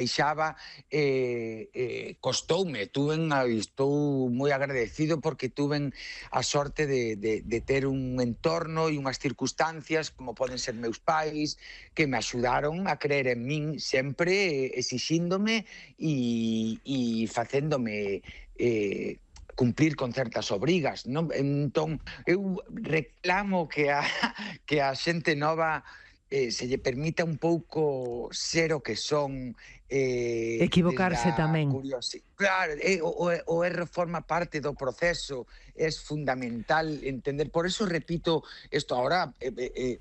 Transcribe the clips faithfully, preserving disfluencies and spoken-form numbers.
deixaba, eh, eh, costoume, tuven, a, estou moi agradecido porque tuven a sorte de, de, de ter un entorno e unhas circunstancias como poden ser meus pais que me axudaron a creer en min sempre, eh, exixíndome e, e facéndome eh, cumplir con certas obrigas, non? Entón, eu reclamo que a, que a xente nova eh, se lle permita un pouco ser o que son, eh, desde Equivocarse a tamén. curiosidade. Claro, eh, o, o, o erro forma parte do proceso, é fundamental entender. Por eso repito isto ahora, eh, eh,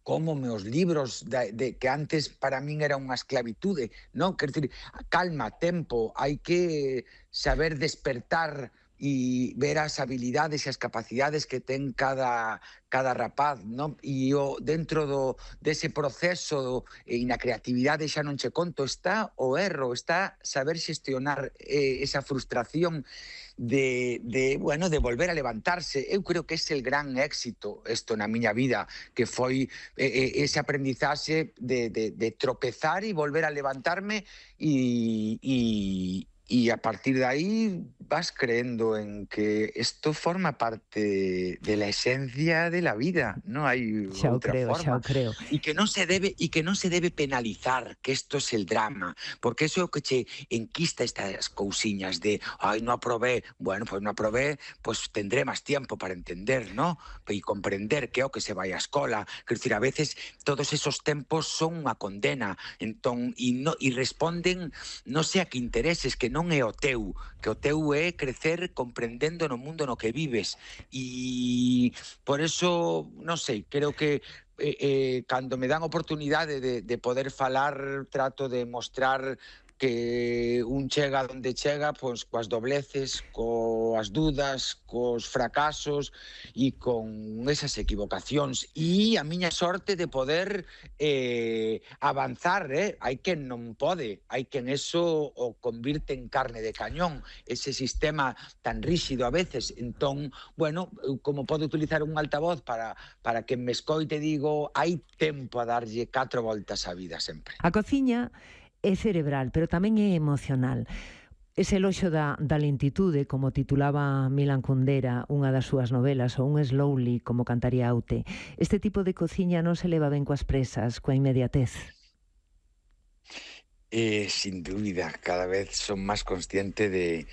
como meus libros de, de, que antes para min era unha esclavitude, non? Quer dizer, calma, tempo, hai que saber despertar e ver as habilidades e as capacidades que ten cada, cada rapaz, non? E o, dentro do, dese proceso e na creatividade xa non che conto, está o erro, está saber xestionar eh, esa frustración de, de, bueno, de volver a levantarse. Eu creo que ese é el gran éxito isto na miña vida, que foi eh, ese aprendizaxe de, de, de tropezar e volver a levantarme e, e, y a partir de ahí vas creyendo en que esto forma parte de la esencia de la vida, no hay Xa o otra creo, xa forma, o creo. y que no se debe y que no se debe penalizar, que esto es el drama, porque eso é o que che enquista estas cousiñas de, ay, no aprobé, bueno, pues no aprobé, pues tendré más tiempo para entender, ¿no? Y comprender que é o que se vai á escola, quer decir, a veces todos esos tempos son unha condena, entón, e no, e responden, non sei a que intereses, que non é o teu, que o teu é crecer comprendendo no mundo no que vives, e por eso, non sei, creo que eh, eh, cando me dan oportunidade de, de poder falar, trato de mostrar que un chega onde chega, pois coas dobleces, coas dudas, cos fracasos e con esas equivocacións. E a miña sorte de poder eh, avanzar, eh? Hai quen non pode, hai quen eso o convirte en carne de cañón, ese sistema tan ríxido a veces. Entón, bueno, como podo utilizar un altavoz para, para que me escoite, digo, hai tempo a darlle catro voltas á vida sempre. A cociña é cerebral, pero tamén é emocional. Ese eloxo da, da lentitude, como titulaba Milan Kundera unha das súas novelas, ou un slowly, como cantaría Aute. Este tipo de cociña non se leva ben coas presas, coa inmediatez. Eh, sin dúbida, cada vez son máis consciente de,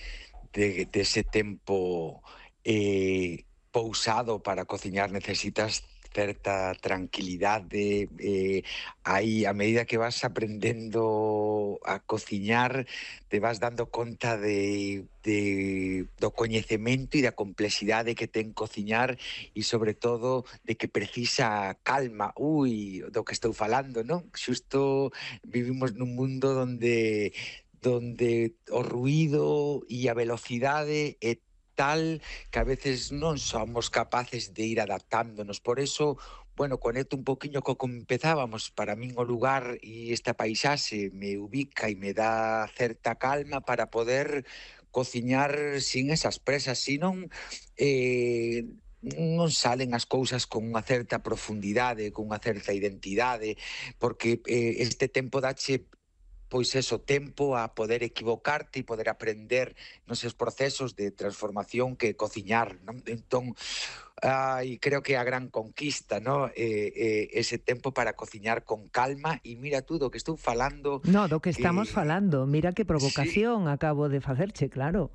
de, de ese tempo eh, pousado para cociñar. Necesitas certa tranquilidade, eh, aí a medida que vas aprendendo a cociñar te vas dando conta de, de do coñecemento e da complexidade que ten cociñar e sobre todo de que precisa calma. Ui, do que estou falando, non? Xusto vivimos nun mundo donde donde o ruído e a velocidade é tal que a veces non somos capaces de ir adaptándonos. Por eso, bueno, conecto un poquinho co que empezábamos. Para min o lugar e esta paisaxe me ubica e me dá certa calma para poder cociñar sin esas presas, senón eh, non salen as cousas con unha certa profundidade, con unha certa identidade, porque eh, este tempo dache pois eso, tempo a poder equivocarte e poder aprender nos seus procesos de transformación que cociñar, non? Entón, ai, creo que a gran conquista, non? Eh, eh, ese tempo para cociñar con calma e mira tú do que estou falando. No, do que estamos que... falando, mira que provocación sí. acabo de facerche, claro.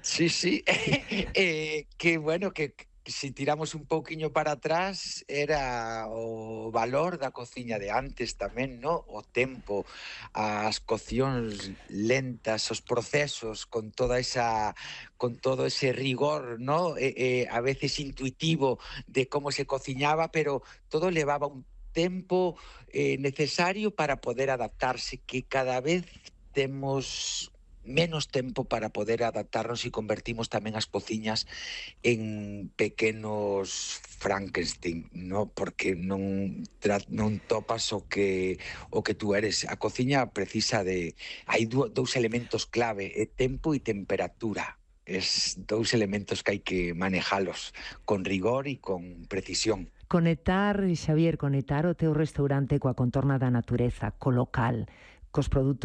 Sí, sí, Sí. eh, que bueno, que si tiramos un pouquiño para atrás era o valor da cociña de antes tamén, no? O tempo, as coccións lentas, os procesos con toda esa con todo ese rigor, no? Eh, eh, a veces intuitivo de como se cociñaba, pero todo levaba un tempo eh, necesario para poder adaptarse, que cada vez temos menos tempo para poder adaptarnos e convertimos tamén as cociñas en pequenos Frankenstein, no? Porque non tra- non topas o que o que tú eres. A cociña precisa de hai dú- dous elementos clave, é tempo e temperatura. Es dous elementos que hai que manejalos con rigor e con precisión. Conectar, Xavier, conectar o teu restaurante coa contorna da natureza, co local, cos produtos